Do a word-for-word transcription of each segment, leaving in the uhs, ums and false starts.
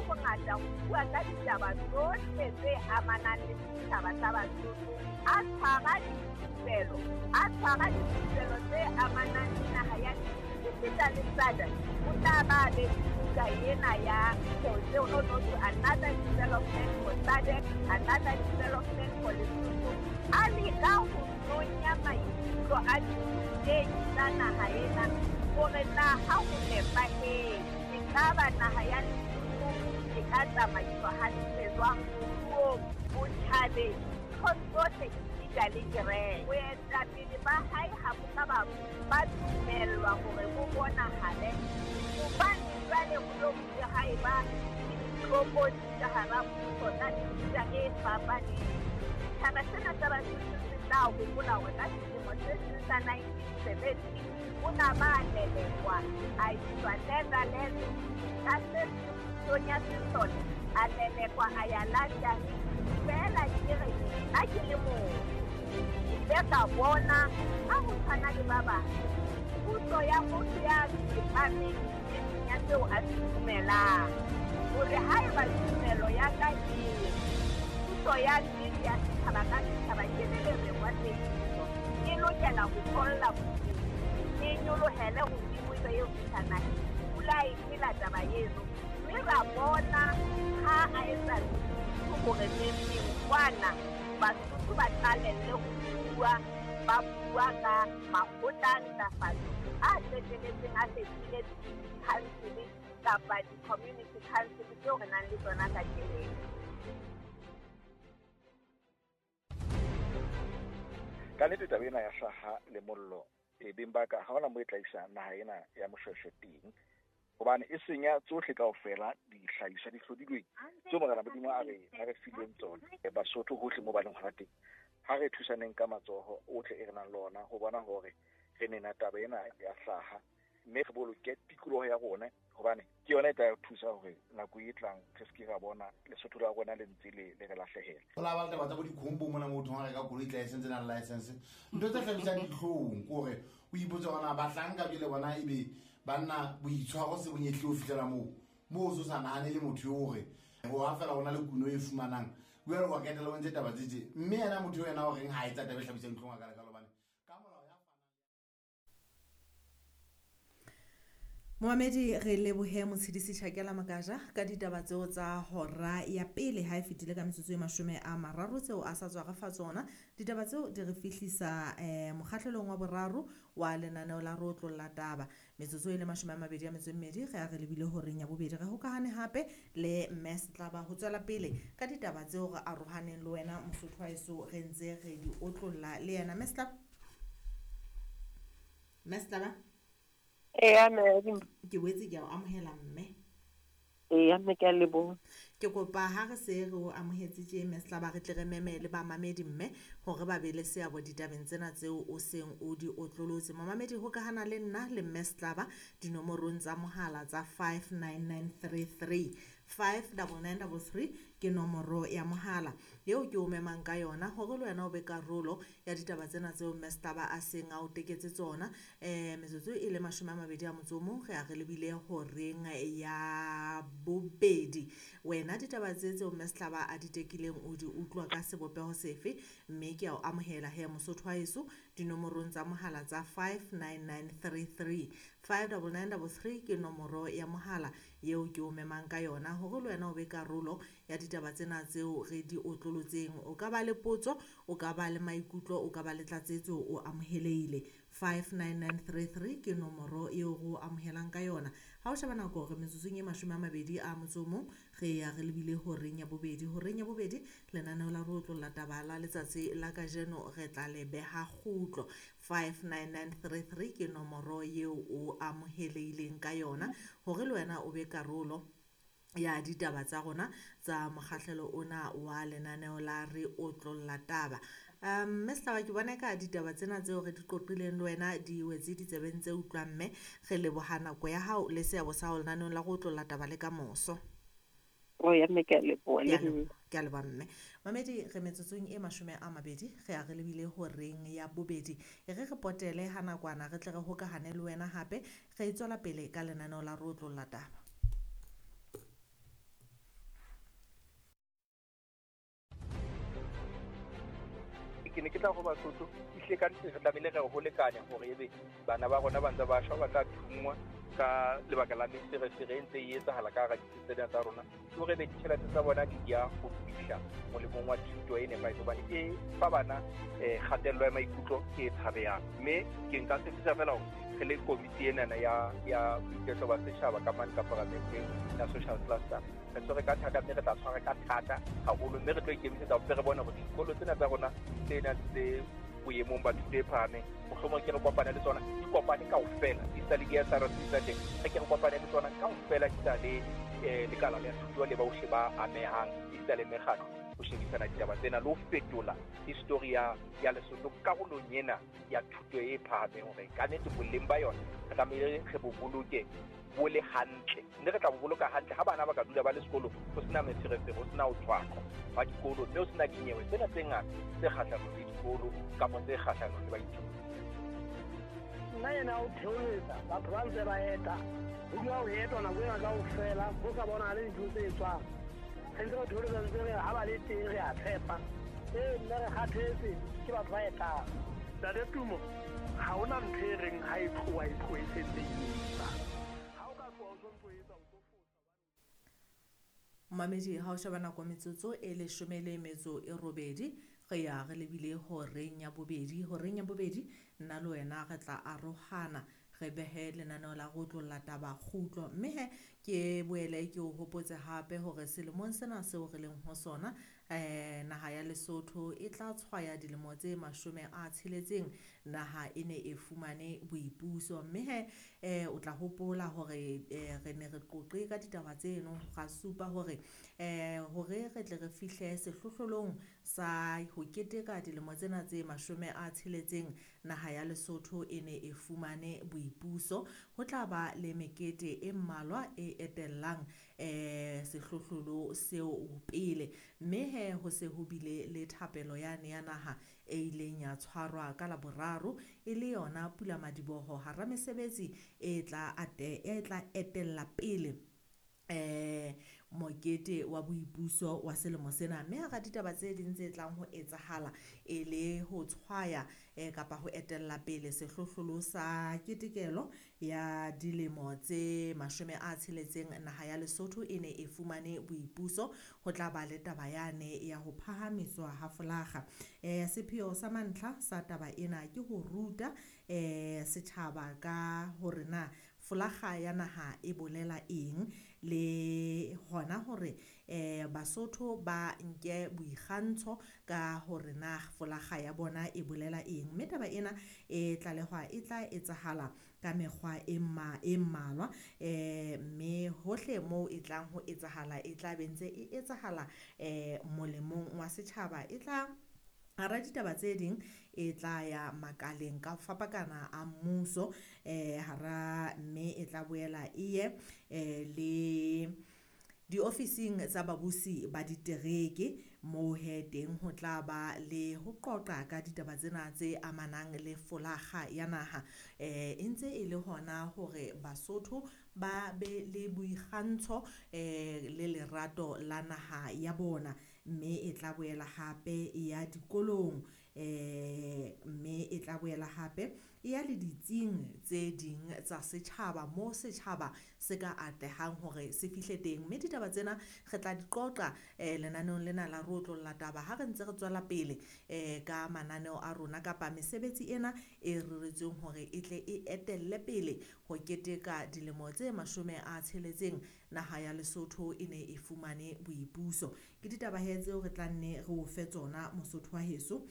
bongata ho bua ka ditaba tsohle tse amanang le setjhaba sa Basotho. A tshwara dithupelo, a tshwara dithupelo tse amanang le naha ya esita le S A D C. O tla ba be buka ena ya another development for S A D C, another development for Lesotho. A leka ho nonya maikutlo a dithutehi tsa naha ena hore na ha ho nepahetse ekaba naha ya Lesotho e ka tsamaiswa hantle jwang moruong, botjhabeng, nthong tsohle esita le kereke. Boetapele ba hae ha bo ka ba ba dumellwa hore bo bonahale hobane jwale ho lo bile ha eba le ditlokotsi ka hara mmuso tsa mefuta e fapaneng. Setjhaba sena sa Basotho se tla hopola hore ka selemo se seng sa nineteen seventy o na ba lelekwa a iswa Netherlands, ka se pusong ya sesole a lelekwa a ya London. Feela ke re nna ke le mong ke ile ka bona ha ho tshwana le ba bang puso ya motho ya tsepameng nneteng ya seo a se dumelang, hore haeba tumelo ya ka e re puso ya nnete ya setjhaba ka setjhaba ke le lereng wa tsebiso e lokela ho tholla bodimo, e nyolohele hodimo ebe eo fihla naheng. Pula e phela taba eno, mme ra bona ha a etsa hore neng kwana Basotho ba qalelle ho bua, ba bua ka makgotla a ntlafatso a qetelletseng a fetohile di-council kapa di-community council tseo re nang le tsona kajeno. Ka nnete taba ena ya hlaha le mollo e beng ba ka ha hona moo e tla isa naha ena ya Moshweshwe teng, hobane e senya tsohle kaofela dihlahiswa di hlodilweng tseo Morena Modimo a re a re fileng tsona. Basotho hohle moo ba leng hona teng, ha re thusaneng ka matsoho ohle e re nang le ona ho bona hore re nena taba ena ya hlaha, mme re boloke tikoloho ya rona, hobane ke yona e tla re thusa hore nako e tlang re se ke ra bona Lesotho la rona le ntse le le re lahlehela. Ho la ba le taba tsa bo dikhombo mona motho ha reka koloi license na license, ntho tse hlabisang dihlong ke hore o ipotse hore na bahlanka jwale bona ebe banna boitshwaro se bonyehle ho fihlela moo moo o so sa nahane le motho eo hore ho ha fela hona le kuno e fumanang jwale wa ketela o ntse taba tse tje, mme yena motho eo yena o reng ha etsa taba e hlabisang dihlong a ka lekalo hobane ka molao ya Momamedi, re lebohe Motshidisi Tjhakela Makaja ka ditaba tseo tsa hora ya pele ha e fetile ka metsotso e mashome a mararo tseo a sa tswa re fa tsona. Ditaba tseo di re fihlisa eh mokgahlelong wa boraro wa lenaneo la re otlolla taba. Metsotso e le mashome a mabedi a metso e mmedi re a re lebile horeng ya bobedi. Re hokahane hape le Mme Setlaba ho tswela pele ka ditaba tseo re arohaneng le wena Mosotho wa heso re ntse re di otlolla le yena. Mme Setlaba, Mme Setlaba. Eya mme, ke boetse ke a o amohela mme. Eya mme, ke a leboha. Ke kopa ha re se re o amohetse tje Mme Setlaba, re tle re memele bamamedi mme hore ba be le seabo ditabeng tsena tseo o seng o di otlolotse. Momamedi, hokahana le nna le Mme Setlaba dinomorong tsa mohala tsa five nine nine three three, five double nine double three ke nomoro ya mohala eo ke o memang ka yona hore le wena o be karolo ya ditaba tsena tseo Mme Setlaba a seng a o teketse tsona. Eh metsotso e le mashome a mabedi a motso o mong re a re lebile horeng ya bobedi. Wena ditaba tse tseo Mme Setlaba a di tekileng o di utlwa ka sebopeho sefe? Mme ke a o amohela he Mosotho wa heso dinomorong tsa mohala tsa five nine nine three three, five double nine double three ke nomoro ya mohala eo ke o memang ka yona hore le wena o be karolo ya ditaba tsena tseo re di otlolotseng. O ka ba le potso, o ka ba le maikutlo, o ka ba le tlatsetso, o amohelehile. five nine nine three three ke nomoro eo re o amohelang ka yona. Ha o sheba nako re metsotsong e mashome a mabedi a motso o mong re ya re lebile horeng ya bobedi. Horeng ya bobedi lenaneo la re otlolla taba la letsatsi la kajeno re tla le beha kgutlo. five nine nine three three ke nomoro eo o amohelehileng ka yona hore le wena o be karolo ya ditaba tsa rona tsa mokgahlelo ona wa lenaneo la re otlolla taba. Um Mme Setlaba, ke bona ka ditaba tsena tseo re di qoqileng le wena di wetse ditsebeng tse utlwang, mme re leboha nako ya hao le seabo sa hao lenaneong la go otlolla taba le ka moso. O ya mme, ke a leboha le nna. Ke a leboha mme. Mamedi, re metsotsong e mashome a mabedi re a re lebile horeng ya bobedi. E re re potele ha nakwana re tle re hokahane le wena hape re tswela pele ka lenaneo la re otlolla taba. Ke ne ke tla go Basotho ehlile ka nnete re tlamehile re ho lekane hore ebe bana ba rona ba ntse ba shwa, ba tla thungwa ka lebaka la meferefere e ntse e etsahala ka hara ditsi tsena tsa rona, ke hore ebe ditjhelete tsa bona di ya ho fihla molemong wa thuto e nepahetseng, hobane e fa bana um kgatello ya maikutlo e tshabehang. Mme ke nka tshepisa fela hore re le komiti enana ya ya boiketlo ba setjhaba ka mane ka paramenteng ya social cluster, re tshwere ka thata, mme re tla tshwara ka thata haholo, mme re tlo ikemisetsa hore re bone hore dikolo tsena tsa rona tse nang tse boemong ba thuto e phahameng, mohlomong ke re kopane le tsona, di kopane kaofela, di sa le di-S R C tsa teng, re ke re kopane le tsona kaofela, di sa le um lekala la thuto le bohle ba amehang, di sa le mekgatlo ho shebisana ditaba tsena le ho fetola history ya ya Lesotho karolong ena ya thuto e phahameng, hore ka nnete boleng ba yona re tlamehile re bo boloke bo le hantle, mme re tla bo boloka hantle ha bana ba ka dula ba le sekolo ho sena meferefere, ho sena ho tshwaqwa ba dikolo, mme ho sena dinyewe tsena tse ngata tse kgahlanong le dikolo kapa tse kgahlanong le baithuti. Nna ena o theoletsa batho ba ntse ba eta, ho dula ho etwa nako ena kaofela, ho sa bonahale dintho tse etswang. Re ntse re theoletsa ntse re ha ba le teng re a tshepa. Ee, nna re kgathetse ke batho ba etang. Ntate Tumo, ha hona ntho e reng ha e tloha e tloha e sentse e etsa. Ha o ka tloha o sontso etsa o tlo fosa. Mamedi, ha o sheba nako metsotso e leshome le metso e robedi, re ya re lebile horeng ya bobedi. Horeng ya bobedi nna le wena re tla arohana, re behe lenaneo la go tlolla taba kgutlo. Mme he ke boele ke o hopotse hape hore selemong sena seo re leng ho sona, eh naha ya Lesotho e tla tshwaya dilemo tse mashome a tsheletseng naha e ne e fumane boipuso. Mme he eh o tla hopola hore eh, re ne re qoqe ka ditaba tseno, ra supa hore eh hore re tle re fihle sehlohlolong sa ho keteka dilemo tsena tse mashome a tsheletseng naha ya Lesotho e ne e fumane boipuso, ho tla ba le mekete e mmalwa e etellang eh sehlohlolo seo pele. Mme he ho se ho bile le thapelo yane ya naha e ileng ya tshwarwa ka Laboraro, e le yona pulamadiboho hara mesebetsi e tla ate e tla etella pele eh mokete wa boipuso wa selemo sena. Mme hara ditaba tse ding tse tlang ho etsahala e le ho tshwaya eh, kapa ho etella pele sehlohlolo sa ketekelo ya dilemo tse mashome a tsheletseng naha ya Lesotho e ne e fumane boipuso, ho tla ba le taba yane ya ho phahamiswa ha folaga. Eh, sepheo sa mantlha sa taba ena ke ho ruta eh, setjhaba ka hore na folaga ya naha e bolela eng, le hona hore eh Basotho ba nke boikgantsho ka hore na folaga ya bona e bolela eng. Mme taba ena e tlalehwa e tla etsahala ka mekgwa e mma e mmalwa, eh mme hohle moo e tlang ho etsahala e tla be ntse e etsahala eh molemong wa setjhaba. E tla hara ditaba tse ding e tla ya makaleng ka fapakana a mmuso, eh hara mme e tla boela e ye eh le diofising tsa babusi ba ditereke, moo he teng ho tla ba le ho qoqa ka ditaba tsena tse amanang le folaga ya naha. Eh e ntse e le hona hore Basotho ba be le boikgantsho eh le lerato la naha ya bona. Mme e tla boela hape e ya dikolong, eh mme e tla boela hape e ya le ditsing tse ding tsa setjhaba moo setjhaba se ka atlehang hore se fihle teng. Mme ditaba tsena re tla di qoqa eh lenaneong lena la re otlolla taba ha re ntse re tswela pele eh ka mananeo a rona kapa mesebetsi ena e reretsweng hore e tle e etelle pele ho keteka dilemo tse mashome a tsheletseng naha ya Lesotho e ne e fumane boipuso. Ke ditaba he tseo re tla nne re o fe tsona Mosotho wa heso,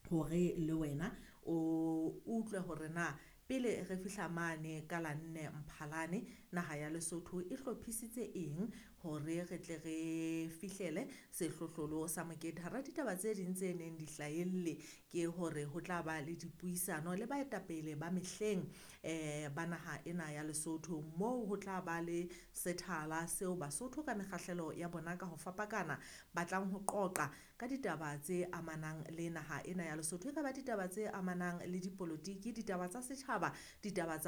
hore le wena o utlwe hore na pele re fihla mane ka la nne Mphalane naha ya Lesotho e hlophisitse eng hore re tle re fihlele sehlohlolo sa mokete. Hara ditaba tse ding tse neng di hlahelle ke hore ho tla ba le dipuisano le baetapele ba mehleng eh ba naha ena ya Lesotho, moo ho tla ba le sethala seo Basotho ka mekgahlelo ya bona ka ho fapakana ba tlang ho qoqa ka ditaba tse amanang le naha ena ya Lesotho. E ka ba ditaba tse amanang le dipolotiki, ditaba tsa setjhaba, ditaba tsa